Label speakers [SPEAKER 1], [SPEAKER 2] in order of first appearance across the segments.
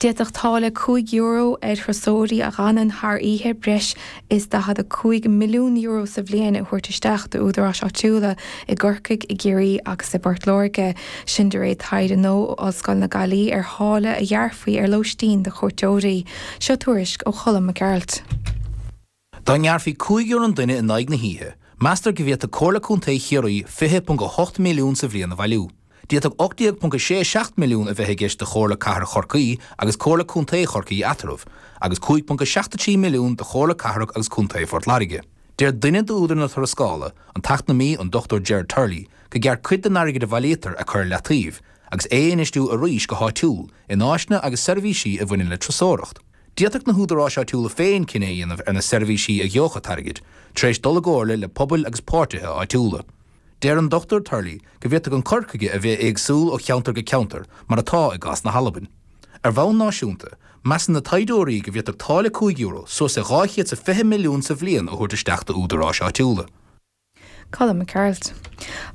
[SPEAKER 1] D'fhéadfadh táille €5 ar thurasóirí a dh'fhanann thar oíche breis is €45 milliún sa bhliain a thabhairt isteach d'údaráis áitiúla i gCorcaigh, i gCiarraí agus i bPort Láirge. Sin de réir taighde nua ó Ollscoil na Gaillimhe ar tháille a ghearrfaí ar lóistín do chuairteoirí. Seo tuairisc ó Cholm Mac Gearailt.
[SPEAKER 2] Dá ngearrfaí €5 an duine in aghaidh na hoíche, meastar go bhféadfadh Comhairle Contae Chiarraí 20.8 milliún sa bhliain a bhailiú. D'fhéadfadh 18.67 milliún a bheith i gceist do Chomhairle Cathrach Chorcaí agus Comhairle Contae Chorcaí eatarthu, agus 5.73 milliún do Chomhairle Cathrach agus Contae Phort Láirge. Deir duine d'údair na tuarascála, an t-eacnamaí an Dr Gerard Turley, gur cheart cuid den airgead a bhailítear a chur ar leataobh agus é a infheistiú arís go háitiúil in áiseanna agus seirbhísí a bhaineann le turasóireacht. D'fhéadfadh na húdaráis áitiúla féin cinneadh a dhéanamh ar na seirbhísí a gheobhadh an t-airgead, tar éis dul i gcomhairle le pobail agus páirtithe áitiúla. Deir an Dr Turley go bhféadfadh an cur chuige a bheith éagsúil ó cheantar go ceantar, mar atá i gcás na hAlban. Ar bhonn náisiúnta, measann na taighdeoirí go bhféadfadh táille €5 suas le 220 milliún sa bhliain a thabhairt isteach d'údaráis áitiúla.
[SPEAKER 1] Colm Mac Gearailt.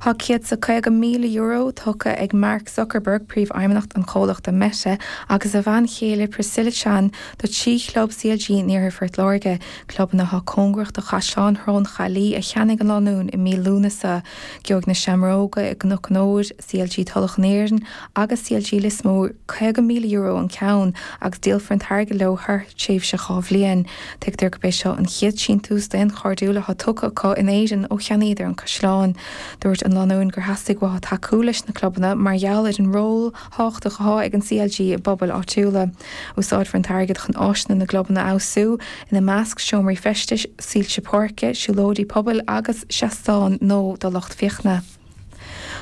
[SPEAKER 1] Tá €150,000 tugtha ag Mark Zuckerberg, príomhfheidhmeannach an chomhlachta Meta, agus a bhean chéile Priscilla Chan do thrí chlub CLG in iarthar Phort Láirge, clubanna atá cóngarach do Chaisleán Shrón Chaillí a cheannaigh an lánúin i mí Lúnasa. Gheobhaidh na Seamróga i gCnoc an Óir, CLG Tulach an Iarainn agus CLG Lios Mór €50,000 an ceann agus díolfar an t-airgead leo thar thréimhse 2 bhliain. Tuigtear gurb é seo an chéad síntiús daonchairdiúil atá tugtha acu in Éirinn ó cheannaíodar an caisleán. Dúirt an lánúin gur theastaigh uathu tacú leis na clubanna mar gheall ar an ról thábhachtach atá ag an CLG i bpobail áitiúla. Úsáidfear an t-airgead chun áiseanna na gclubanna a fheabhsú, ina measc seomraí feistis, soilse páirce, siúlóidí pobail agus seastáin nua do lucht féachana.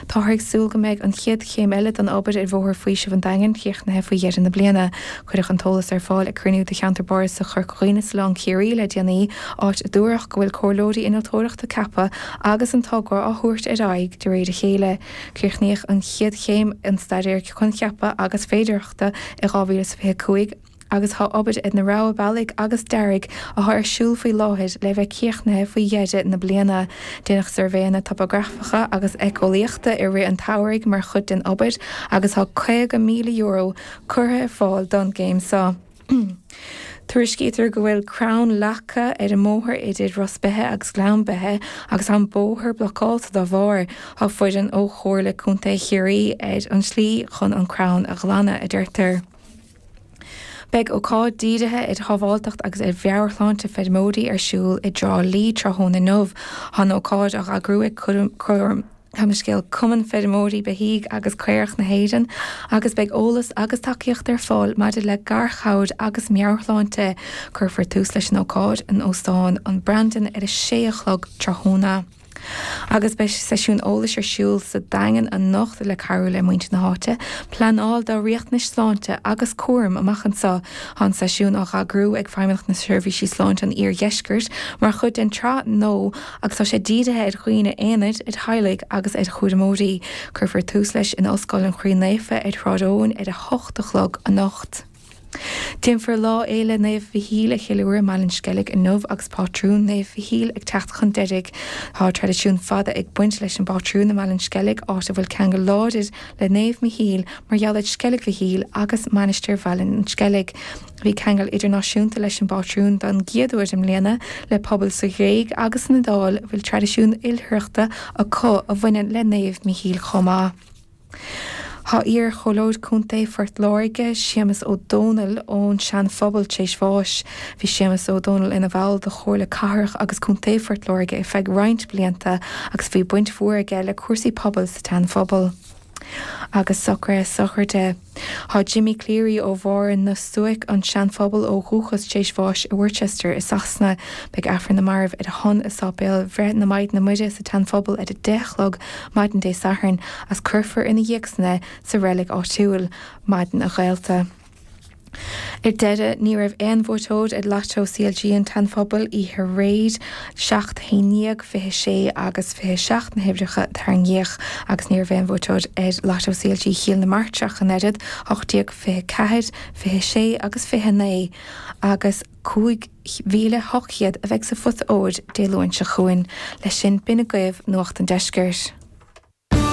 [SPEAKER 1] Táthar ag súil go mbeidh an chéad chéim eile den obair ar Bhóthar Faoisimh an Daingin críochnaithe faoi dheireadh na bliana. Cuireadh an t-eolas ar fáil ag cruinniú de Cheantar Bardasach Chorca Dhuibhne sa Oileán Ciarraí le déanaí, áit a dúradh go bhfuil comhairleoirí innealtóireachta ceaptha agus an togra á thabhairt ar aghaidh de réir a chéile. Críochnaíodh an chéad chéim den staidéar coincheapa agus féidearthachta i 2025. agus tá obair ar na rogha bealaigh agus dearaidh atá ar siúl faoi láthair le bheith críochnaithe faoi dheireadh na bliana. Déanadh suirbhéanna topagrafacha agus éiceolaíochta i rith an tsamhraidh mar chuid den obair agus tá €50,000 curtha ar fáil don gcéim seo. Tuairiscítear go bhfuil crann leagtha ar an mbóthar idir Ros Beithe agus Gleann Beithe agus tá an bóthar blocáilte dá bharr. Tá foireann ó Chomhairle Contae Chiarraí ar an tslí chun an crann a ghlanadh, a deirtear. Beidh ócáid dírithe ar shábháilteacht agus ar mheabhairshláinte feirmeoirí ar siúl i dTrá Lí tráthnóna inniu. Tá an ócáid á eagrú ag Cumann Feirmeoirí Beithígh agus Caorach na hÉireann agus beidh eolas agus tacaíocht ar fáil maidir le garchabhair agus meabhairshláinte. Cuirfear tús leis an ócáid in Óstán an Brandon ar a sé a chlog tráthnóna. Agus beidh seisiún eolais ar siúl sa Daingean anocht le cabhrú le muintir na háite pleanáil dá riachtanais sláinte agus cúraim amach anseo. Tá an seisiún á eagrú ag Feidhmeannacht na Seirbhísí Sláinte an Iardheiscirt mar chuid den tsraith nua agus tá sé dírithe ar dhaoine aonair, ar theaghlaigh agus ar chúramóirí. Cuirfear tús leis in Ollscoil an Chroí Naofa ar Shráid Eoin ar 8 a chlog anocht. Déanfar Lá Fhéile Naomh Mhichíl a cheiliúradh i mBaile an Sceilg inniu agus pátrún Naomh Mhichíl ag teacht chun deiridh. Tá traidisiún fada ag baint leis an bpátrún i mBaile an Sceilg, áit a bhfuil ceangal láidir le Naomh Michíl mar gheall ar Sceilg Mhichíl agus Mainistir Bhaile an Sceilg. Bhí ceangal idirnáisiúnta leis an bpátrún don gcéad uair i mbliana, le pobail sa Ghréig agus san Iodáil a bhfuil traidisiún oilithreachta acu a bhaineann le Naomh Michíl chomh maith. Tá iar-Chomhairleoir Contae Phort Láirge, Séamus Ó Dónaill ón Sean-Phobal tar éis bháis. Bhí Séamus Ó Dónaill ina bhall de Chomhairle Cathrach agus Contae Phort Láirge ar feadh roinnt blianta agus bhí baint mhór aige le cúrsaí pobail sa tSean-Phobal. Agus socruithe sochraide. Tá Jimmy Cleary ó Bharr na Stuaice, an Sean-Phobal ó dhúchas tar éis bháis i Worcester i Sasana. Beidh Aifreann na Marbh ar a shon i Sáipéal Bhreith na Maighdine Muire sa tSean-Phobal ar 10 a chlog maidin Dé Sathairn agus cuirfear ina dhiaidh san é sa reilig áitiúil. Maidin a ghaolta. Ar deireadh, ní raibh aon bhuaiteoir ar Lotto CLG an tSean-Phobail oíche aréir, 7, 11, 26 agus 27 na huimhreacha a tarraingíodh agus ní raibh aon bhuaiteoir ar Lotto CLG Chill na Martra ach an oiread, 18, 24, 26 agus 29 agus 5,800 a bheidh sa phota óir Dé Luain seo chugainn. Leis sin, b'in agaibh Nuacht an Deiscirt.